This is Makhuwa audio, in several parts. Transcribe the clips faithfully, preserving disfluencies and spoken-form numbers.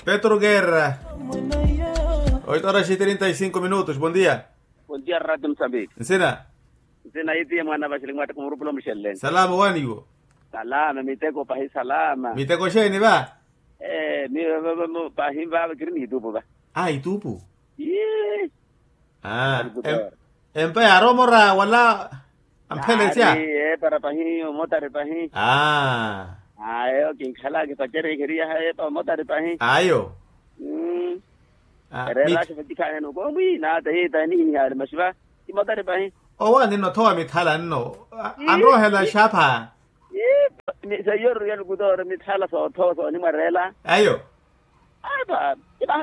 Petro guerra. Oito horas e trinta e cinco minutos, bom dia. Bom dia, radio mosambiki. Nsina? Nsina itiye mwana vaxili mwatta kumurupula omuxelleni. Salama waniwo? Salama miteko pahi salama. Miteko xeeni va? Pahi vava kiri ni itupu va. A itupu. Empa yaari omora wala? Amphelesya. Eepara pahi omotari pahi. Ayo kinkhala kipacerya ikheriyaha eepa omotari pahi. Ayo. Ereelaxa vatikhaaneno koomwi naata hiita nihihaari maxiva. Kimotari pahi. Owo aninno thowa mithala nno. Anroohela xapha. Seiyo ruriya lukutooro mithala soothowa soonimwareela. Ayo. Ata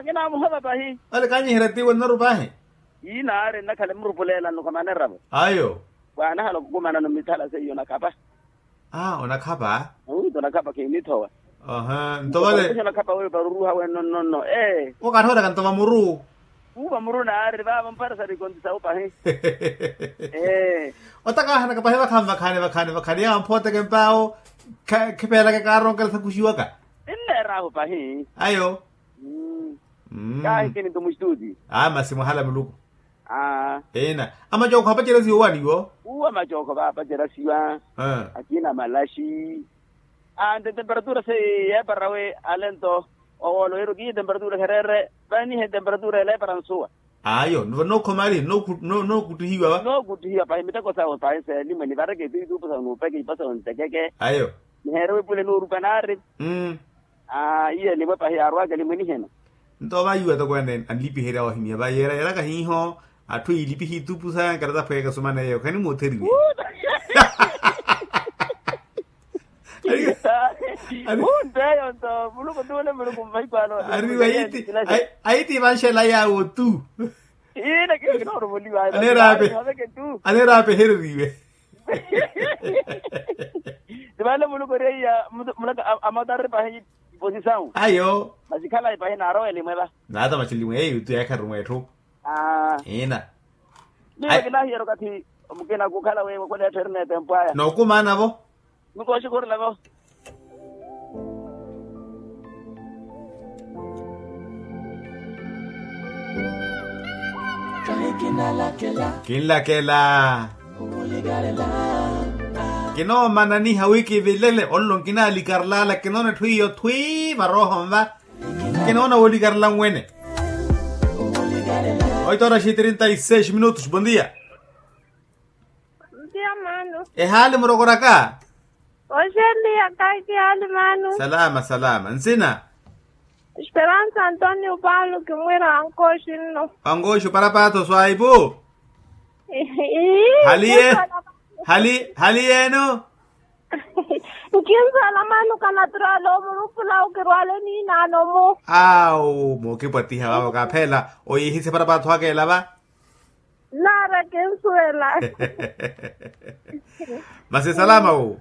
kinamuhova pahi. Ole kanyiherya tiwe nnoru pahi. Inaari nnakhala emurupuleela nnukhamaneravo. Ayo. Waanahala okukumanano mithala seiyo onakhapa. Onakhapa. Onitho onakhapa khinithowa. Nto vale. Onakhapa weyo paruruha wenno nno. Ee. Okaathoweraka nto vamuru. Uu vamuru naari vava mpara sari konti sawu pahi. Ee. Otakahanaka pahi vakhaani vakhaani vakhaani vakhaani yawo mphooteke mpaawo. Khipeelaka kaaronkela sakuxiwaka. Nneeraahu pahi. Ayo. Kaahikini nto muxituti. Masi mwahala muluku. Ina. Amacookho apacerya siwa waniwo. Uwo amacookho vaapacerya siwa. Akina malaxi. Ante temperatura se yeeparawe ale nto. Owolo yeru kiye temperatura khereere. Vanihe temperatura eleepara nsuwa. Ayo nnookhomaari. Nookuttihiwa va. Nookuttihiwa pahi miteko sawe pahi seelimwe nivareke itupu sawe nuupeke ipa sawe ntekeke. Ayo. Niheere wipule noorupa naari. Iye elimwe pahi yaarwaka elimwe nihena. Nto vaiwa toko ene anlipiherya ohimya vayeera yeeraka hiiho. Atthu iilipihe itupu saya nkarata phweeka sumaneyo khanimuutheriwe. Ari. Ari. Munteyo nto muluku tuule muluku mmahikwano. Ari. Aiti vanxela yawo tu. Ina kinooruvoliwa. Aneerape. Aneerapehereriwe. Ti vale muluku ori eiya. Mulaka amotarre pahi. Posisawu ayo. Masi khalayi pahi naarowa elimwe va. Naata masi elimwe eyo tu yaakharumwa etthu. Ina. Miyo kinahiyerya okathi. Mukina kukhala wewe khula etthu eri n'etempo aya nookumaana vo. Mikooxi khurila vo. Kinlakela. Kinoomananiha wi kivilele onlo nkinalikarlala kinoona etthu iyo thwi varooho nva. Kinoona woolikarla nwene. Oito horas e trinta e seis minutos bom dia. Ntiya maano. Ehaali murokoraka. Oxeliya kaiki haali maano. Salama salama nsina. Esperansa antonio paulo kimwira ankooxi nno. Ankooxi oparapaatho swaipu. Hali ye. Hali hali yeeno. Nkinsuwela maano kanaturala omurupula okirwale niinaano-mu. Awo mookipwatiha vavo kaaphela. Oyiihise parapaatho aka ela va. Naara kinsuwela. Masi salama wu.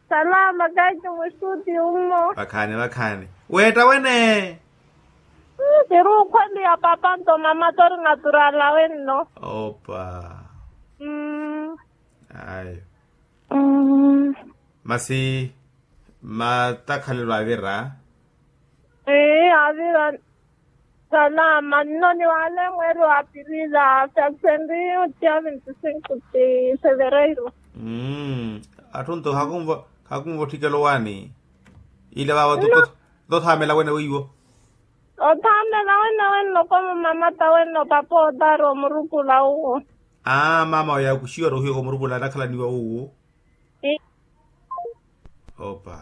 Salama kaiki mustuti ummo. Vakhaani vakhaani. Weetta wene. Kiruukhweliya papa nto mama tori naturala wenno. Opa. Ayo. Masi matakhalelo avira. Ee avira. Salama nno ni wale mweeri wa apirila fyakusenri otiya vinti sinku ti fevereiro. Atthu nto khakunvo otthikela owaani. Ile vava tothaamela wene weiwo. Othaamela wene wenno komo mamata wenno papa otaari omurupula uwo. Aa mama oyo akuxiwa rohiwa komurupula anakhalaniwa uwo. Opa.